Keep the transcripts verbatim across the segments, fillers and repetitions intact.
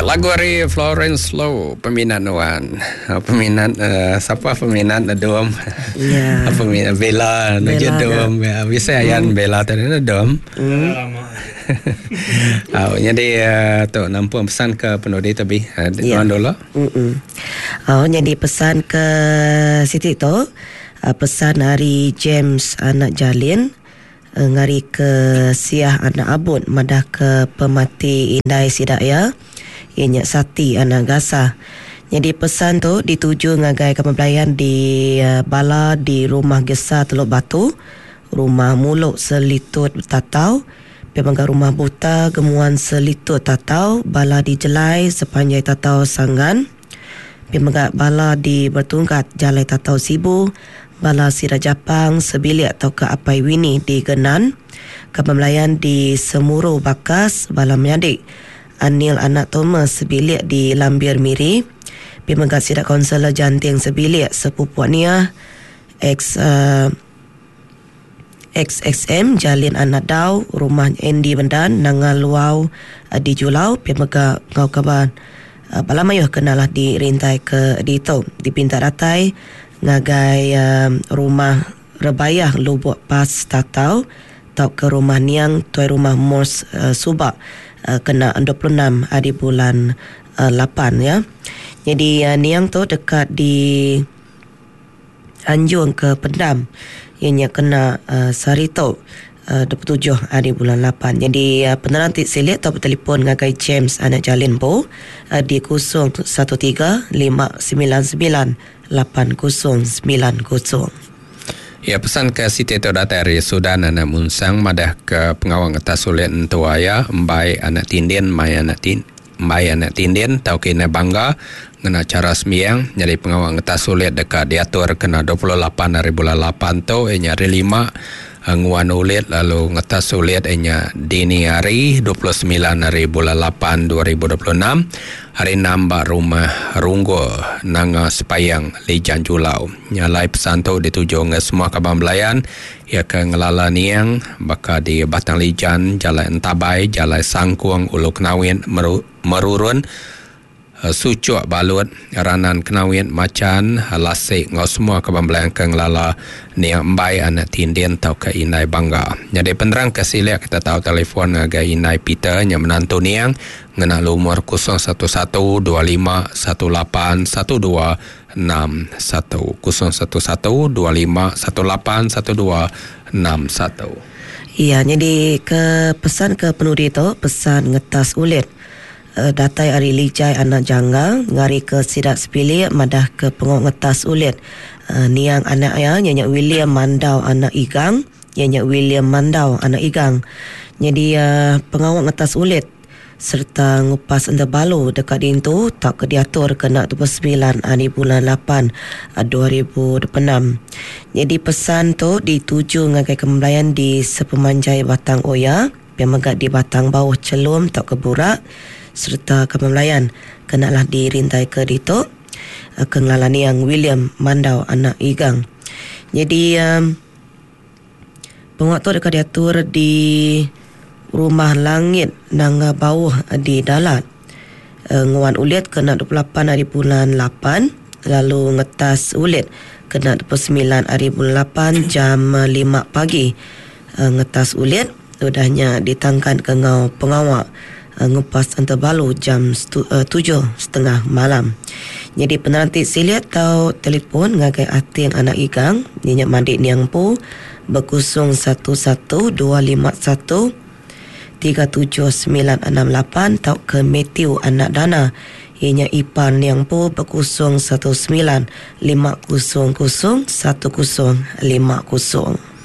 Ya, lagu ari Florence Low, peminat nuan. Peminat uh, siapa peminat Dom? Ya. Peminat Bella, Bella Dom. Ya, bisa ayan hmm. Bella tadi Dom. Hmm. Oh, jadi uh, tu nampung pesan ke penudi tapi uh, Ya. nuan dulu. Mm-mm. Oh, jadi pesan ke Siti tu, uh, pesan hari James anak Jalin uh, ngari ke Siah anak Abun madah ke pemati indai sidak ya. Ianya Sati anak Gasa. Jadi pesan tu dituju ngagai kaban belayan di uh, bala di rumah Gesa Teluk Batu, rumah Muluk Selitut Tatau, pemangga rumah Buta Gemuan Selitut Tatau, bala di Jelai sepanjai Tatau Sanggan, pemangga bala di Bertungkat Jalai Tatau Sibu, bala Sira Japang Sebilik atau ke Apai Wini di Genan, kaban belayan di Semuru Bakas, bala menyadik Anil anak Thomas Sebilik di Lambir Miri, pemangga Sidak Konselor Janting Sebilik sepupu Nia ex uh, X X M Jalin anak Dau rumah Andy Bendan Nanga Luau uh, di Julau, pemangga ngau kaban uh, bala mayuh kenalah di rintai ke di tu dipinta datai ngagai uh, rumah Rebayah Lubuk Pas Tatau tau ke rumah Niang tuai rumah Mors uh, Subak uh, kena dua puluh enam hari bulan uh, lapan ya. Jadi uh, Niang tu dekat di Anjung ke Pendam. Ianya kena uh, sehari tu uh, dua puluh tujuh hari bulan lapan. Jadi uh, penerang ti silik atau bertelefon ngagai James anak Jalin Bo uh, di kosong satu tiga lima sembilan sembilan lapan kosong sembilan kosong. Ya, pesan ke Siti tu datang dari Sudan anak Munsang madah ke pengawang atas sulit entua ya embai anak tindin mai anak tin embai anak tindin tau kena bangga ngena cara sembiang. Jadi pengawang atas sulit dekat diatur kena dua puluh lapan hari bulan lapan tu inya hari lima nguan ulit lalu ngetas sulit inya dini hari dua puluh sembilan hari bulan lapan dua ribu dua puluh enam hari enam bak rumah Runggo Nanga Sepayang Lijan Julau. Nyalai pesan tu dituju nge semua kaban belayan ya ke ngelala Niang baka di Batang Lijan, Jalan Entabai, Jalan Sangkuang, Ulu Kenawin, Meru, Merurun, Sucuk Balut, Ranan Kenawin, Macan, Lasik, ngau semua kaban belayan ke ngelala Niang Embai anak Tindin tau ke Indai Bangga. Jadi penerang ke silik kita tahu telefon ngagai Indai Peter yang menantu Niang ngena lumur kosong satu satu dua lima satu lapan satu dua enam satu kosong satu satu dua lima satu lapan satu dua enam satu. Iya, jadi ke pesan ke penudi tu pesan ngetas ulit. Uh, datai ari Lijai anak Janggang ngari ke Sidak Sepilik madah ke pengok ngetas ulit. Uh, niang anak ya nyanyak William Mandau anak Igang, nyanyak William Mandau anak Igang. Jadi uh, pengawak ngetas ulit serta ngupas enda balu dekat dintu tak ke diatur kena dua puluh sembilan hari bulan lapan dua ribu dua puluh enam. Jadi pesan tu dituju ngagai kembalayan di sepemanjai Batang Oya, pemegak di Batang Bawah Celum tak ke Burak serta kembalayan kenalah dirintai ke ditu ke ngelalani yang William Mandau anak Igang. Jadi um, penguat tu dekat diatur di Rumah Langit Nanga Bawah di Dalat. E, nguan ulit kena dua puluh lapan hari bulan lapan, lalu ngetas ulit kena dua puluh sembilan hari bulan lapan jam lima pagi. E, ngetas ulit udahnya ditangkan ke ngau pengawak e, ngupas antabalu jam stu, e, tujuh setengah malam. Jadi penanti siliat tau telefon ngagai Ating anak Igang nyenyak mandi Niang Pu berkusung satu satu dua lima satu tiga tujuh sembilan enam lapan tau ke Matthew anak Dana ianya ipar Niang Pu berkusung satu sembilan lima kosong kosong satu kosong lima kosong.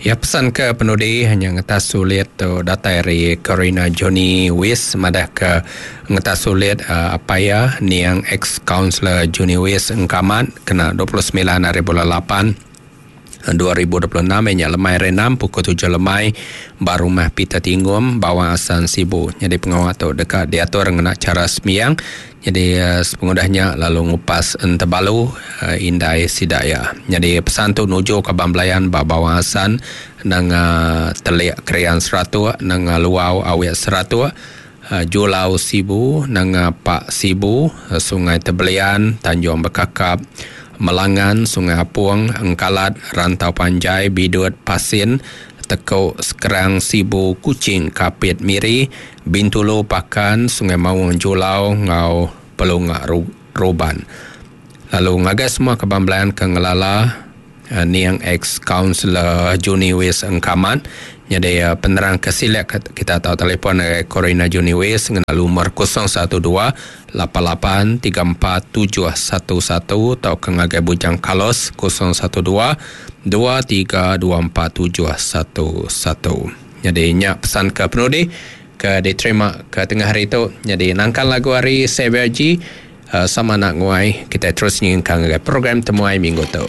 Ya, pesan ke penudi hanya ngetas sulit tu datai dari Karina Johnny Wis madah ke ngetas sulit uh, apa ya Niang ex counselor Johnny Wis engkamat kena dua puluh sembilan hari bulan lapan dua ribu dua puluh enam nya lemai renam pukul tujuh lemai baru rumah Peter Tinggum Bawang Asan Sibu. Jadi pengawal tu dekat diatur ngena cara sembiang. Jadi uh, sepengudahnya lalu ngupas entebalu uh, indai sidaya. Jadi pesan tu nuju ke Bamblayan ba Bawang Asan nang uh, telik krian seratus nang uh, luau awet seratus uh, Julau Sibu, Nanga Pak Sibu, uh, Sungai Tebelian, Tanjung Bekakap, Melangan, Sungai Apung, Engkalat, Rantau Panjai, Bidut, Pasin, Tekuk, Sekerang, Sibu, Kuching, Kapit, Miri, Bintulu, Pakan, Sungai Maung, Julau, Ngau, Pelunga, Ruban. Lalu ngagai semua kebamblaan ke ngelala uh, niang ex-counselor Juni Wis Engkamat. Jadi uh, penerang kesilak kita tahu telefon uh, Corina Juni Wis dengan nomor kosong satu dua lapan lapan tiga empat tujuh satu satu atau ke ngagai Bujang Kalos kosong satu dua dua tiga dua empat tujuh satu satu. Jadi nyak pesan ke penudi ke diterima ke tengah hari itu. Jadi nangkan lagu hari Xavier G uh, sama nak nguai kita terus nyingkang ke program temuai minggu tu.